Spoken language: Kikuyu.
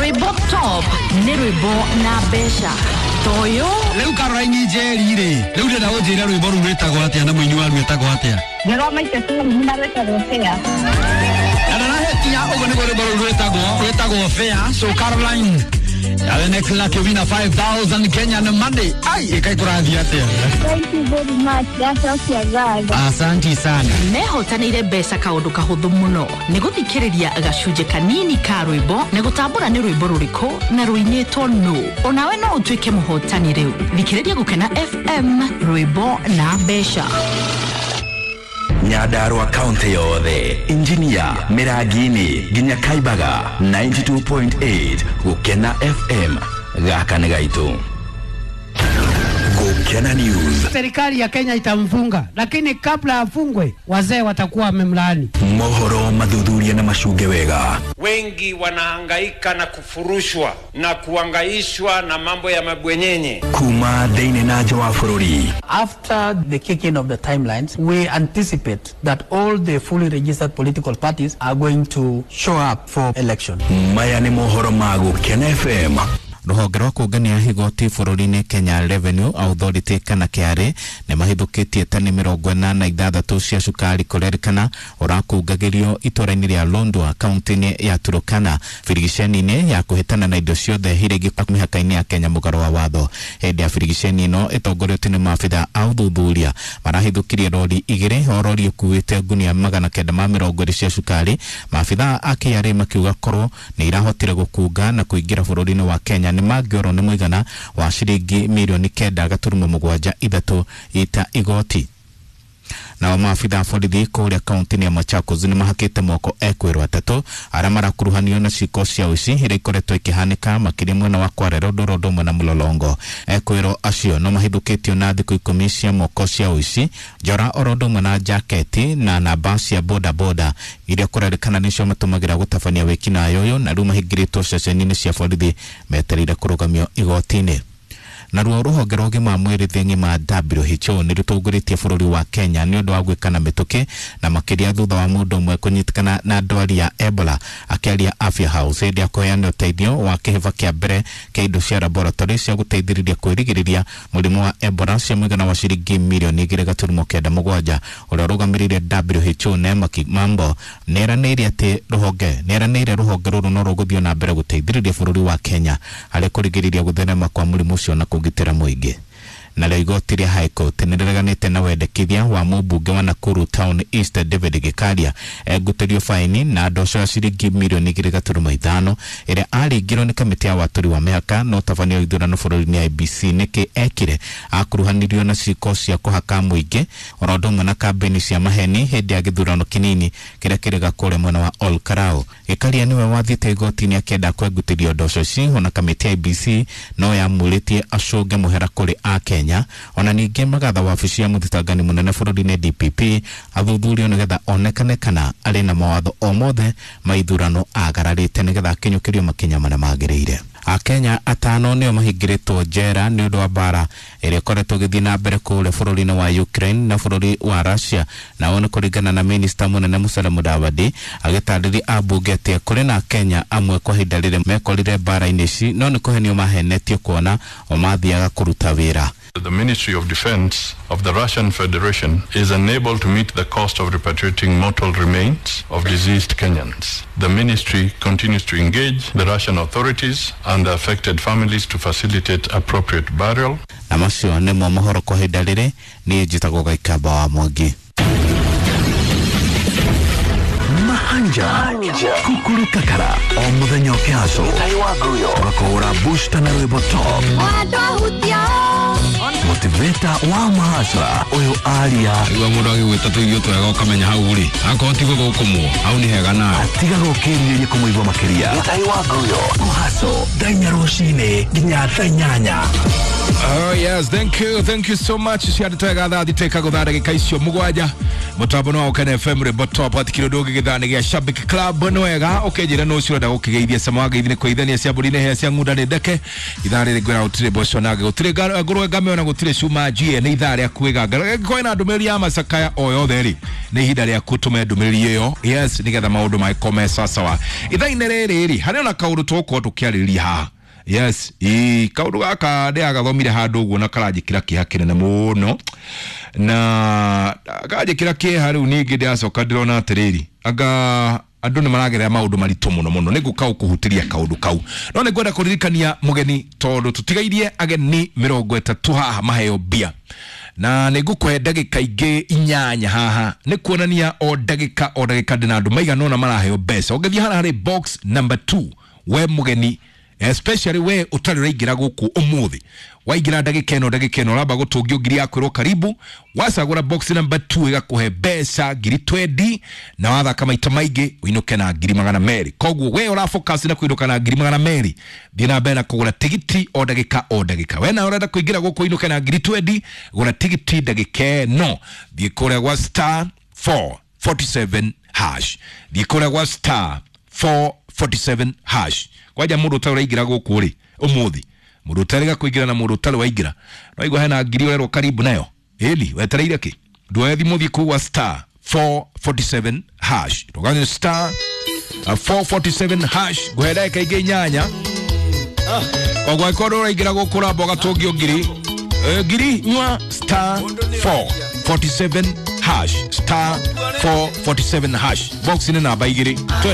Rwĩmbo top nĩ rwĩmbo na mbeca toyo. Rĩu Caroline Njeri rĩ, rĩu ndĩrenda ũnjĩre rwĩmbo rũu rwĩtagwo atĩa na mũini waruo etagwo atĩa? Nĩ rwa Maite Sulu na rwĩtagwo Fair. Na ndarahetia, ũguo nĩguo rwĩmbo rũu rwĩtagwo Fair. So Caroline, Yawe Clark wina 5000 Kenyan money. Ai, ikai kũrathiĩ atĩa? Thank you very much. Ndacokia ngatho. Asanti sana. Mehotanĩire mbeca kaũndũ kahũthũ mũno nĩ gũthikĩrĩria gacunjĩ kanini ka rwĩmbo na gũtambũra nĩ rwĩmbo rũrĩkũ na rũinĩtwo nũ. Onawe no ũtuĩke mũhotani rĩu. Thikĩrĩria Gũkena FM, rwĩmbo na mbeca. Nyandarua kaunti yothe, Injinia, Mirangini nginya Kaibaga, 92.8 Gukena FM, gaka nĩ gaitũ. Gukena News. Serikali ya Kenya itamfunga, lakini kabla afungwe wazee watakuwa wamemlaani. Mohoro mathuthuria na macunge wega. Wengi wanahangaika na kufurushwa na kuangaishwa na mambo ya mabwenyenye. Kuma thĩinĩ na nja wa bũrũri. After the kicking of the timelines, we anticipate that all the fully registered political parties are going to show up for election. Maya nĩ mohoro ma Gukena FM. Rũhonge rwa kũngania igoti bũrũri-inĩ Kenya Revenue Authority kana KRA nĩ mahithũkĩtie tani 46 cia cukari kũrerĩkana ũrakungagĩrio itũra-inĩ rĩa Londwa kaunti-inĩ ya Turkana birigiceni-inĩ ya kũhĩtana na indo ciothe iria ingĩ mĩhaka-inĩ ya Kenya mũgarũ wa watho. Hĩndĩ ya birigiceni ĩno ĩtongoretio nĩ maabitha a ũthuthuria marahithũkirie rori igĩrĩ, o rori ĩkuĩte ngunia 920 cia cukari. Maabitha a KRA makiuga korwo nĩ irahotire gũkunga na kũingĩra bũrũri-inĩ wa Kenya nĩ mangĩorwo nĩ mũigana wa ciringi mirioni 9.73 ita igoti. Nao maabitha a borithi kũrĩa kaunti-inĩ ya Machakos nĩ mahakĩte moko ekwĩrwo atatũ arĩa marakuruhanio na ciĩko cia ũici iria ikoretwo ikĩhanĩka makĩria mwena wa Kware Road, Road ũmwe na Mlolongo. Ekwĩrwo acio no mahithũkĩtio na thikũ 10 cia moko cia ũici, njora oro ũndũ ũmwe na jaketi na namba cia boda boda iria kũrerĩkana nĩcio matũmagĩra gũtabania wĩkinaĩ ũyũ, na rĩu mahingĩrĩtwo ceceni-inĩ cia borithi metereire kũrũgamio igoti-inĩ. Naruo rũhonge rwa ũgima wa mwĩrĩ thĩ ng'ima WHO nĩ rũtongoretie bũrũri wa Kenya nĩ ũndũ wa gwĩkana mĩtũkĩ na makĩria thutha wa mũndũ ũmwe kũnyitĩkana na ndwari ya Ebola. Akĩaria Afya House hĩndĩ ya kũheana ũteithio wa kĩhĩba kĩa mbere kĩa indo cia laboratory cia gũteithĩrĩria kwĩrigĩrĩria mũrimũ wa Ebola cia mũigana wa ciringi mirioni 2.97, ũrĩa ũrũgamĩrĩire WHO Neema Kimambo nĩeranĩire atĩ rũhonge rũrũ no rũgũthiĩ na mbere gũteithĩrĩria bũrũri wa Kenya harĩ kũrigĩrĩria gũtherema kwa mũrimũ ũcio na kũgitĩra mũingĩ. Narĩo igoti rĩa High Court nĩrĩreganĩte na wendekithia wa mũmbunge wa Nakuru Town East David Gikaria egũtĩrio faini na ndoco ya ciringi mirioni 2.5 ĩrĩa aringirwo nĩ kamĩtĩ ya watũri wa mĩhaka na ũtabania wa ithurano bũrũri-inĩ IEBC nĩkĩ ekire akuruhanirio na ciĩko cia kũhaka mũingĩ oro ũndũ ũmwe na kambĩini cia maheni hĩndĩ ya gĩthurano kĩnini kĩrĩa kĩrĩga kũrĩa mwena wa Ol Kalou. Gikaria nĩwe wathiĩte igoti-inĩ akĩenda kwengutĩrio ndoco ici, ona kamĩtĩ ya IEBC no yamũrĩtie acũnge mũhera kũrĩ Akenya. Ona ningĩ magatha wabici ya mũthitangani mũnene bũrũri-inĩ DPP athuthurio nĩgetha onekane kana arĩ na mawatho o mothe ma ithurano agararĩte nĩgetha akinyũkĩrio makinya marĩa magĩrĩire. Akenya atano nĩo mahingĩrĩtwo njera nĩ ũndũ wa mbara ĩrĩa ĩkoretwo ĩgĩthiĩ na mbere kũrĩa bũrũri-inĩ wa Ukraine na bũrũri wa Russia. Nao nĩ kũringana na minista mũnene Musalia Mudavadi agĩtarĩria ambunge atĩ kũrĩ na Akenya amwe kwa ihinda rĩrĩ mekorire mbara-inĩ ici no nĩ kũhenio mahenetio kuona o mathiaga kũruta wĩra. The Ministry of Defense of the Russian Federation is unable to meet the cost of repatriating mortal remains of deceased Kenyans. The ministry continues to engage the Russian authorities and the affected families to facilitate appropriate burial. Na macio nĩmo mohoro kwa ihinda rĩrĩ. Niĩ njĩtagwo Gaikamba wa Mwangi. Mahanja Kukuru Kakara o mũthenya ũkĩhaco tũgakũhũra booster na rwĩmbo top motivator wa mahasra ũyũ aria Igua mũndũ agĩgwĩta tũirio twega ũkamenya hau rĩ akorwo ti gũgũkũmwo hau nĩ hega nawe atiga gũkĩrirĩria kũmũigua makĩria kũhaco thaa inya rũcinĩ nginya thaa inyanya. Oh yes, thank you so much. Ciana twega thaa thiteka gũthaa ndagĩka icio mũgwanja mũtambo nĩ wa Gũkena FM rwĩmbo top atikiro ndũngĩ gĩthaa nĩ gĩa Shabik Club nĩ wega ũkĩnjĩra nũ ũcio ũrenda gũkĩgeithia cama wa ngeithi nĩ kũgeithania cia mbũri nĩ hĩa cia ng'unda nĩ ndeke ithaa rĩrĩ ngwĩra gũtirĩ mboco na gũtirĩ ngũrwe ngame ona Gũtirĩ cuma njie, nĩ ithaa rĩa kwĩganga. Angĩkorwo na ndũmĩrĩri ya macakaya o yothe rĩ, nĩ ihinda rĩa kũtũme ndũmĩrĩri ĩyo, yes, nĩgetha maũndũ magĩkorwo me sawasawa. Ithaa-inĩ rĩrĩ rĩ, harĩ ona kaũndũ tũgũkorwo tũkĩarĩrĩria haha. Yes, ĩ kaũndũ gaka ndĩragathomire handũ ũguo na karanjĩkĩra kĩeha kĩnene mũno, na kanjĩkĩra kĩeha. Rĩu ningĩ ndĩracoka ndĩrona atĩrĩrĩ, anga andũ nĩ maragerera maũndũ maritũ mũno mũno. Nĩ ngũka gũkũhutĩria kaũndũ kau, no nĩ ngwenda kũririkania mũgeni, tondũ tũtigairie ageni 30 haha maheo mbia, na nĩ ngũkũhe ndagĩka ingĩ 8 haha. Nĩ kuonania o ndagĩka o ndagĩka ndĩna andũ maigana ũna maraheo mbeca. Ũngĩthiĩ harĩa harĩ box number 2, we mũgeni, especially we ũtarĩ ũraingĩra gũkũ ũmũthĩ, waingĩra ndagĩka ĩno ũramba gũtũngio ngiri ya kwĩrwo karibu. Wacagũra box number 2 ĩgakũhe mbeca ngiri 20, na wathaka maita maingĩ ũinũke na ngiri 200. Koguo we ũra focus na kũinũka na ngiri 200, thiĩ na mbere na kũgũra tigiti o ndagĩka o ndagĩka. We nawe ũrenda kũingĩra gũkũ ũinũke na ngiri 20, gũra tigiti ndagĩka ĩno. Thiĩ kũrĩa gwa star 447 hash, thiĩ kũrĩa gwa star 447 hash. Kwanja mũndũ ũtarĩ ũraingĩra gũkũ rĩ ũmũthĩ, mũndũ ũtarĩ kũingĩra na mũndũ ũtarĩ waingĩra, no hena ngiri ũrerwo karibu nayo ĩni, wetereire kĩ? Nduoye thimũ, thiĩ kũu gwa star 447 hash, ndũganye star 447 hash. Ngũhe ndagĩka ingĩ 8. Koguo angĩkorwo ũraingĩra gũkũ ũramba ũgatũngio ngiri, ngiri nyua, star 447 hash, star 447 hash, box nĩ namba 2. Twende.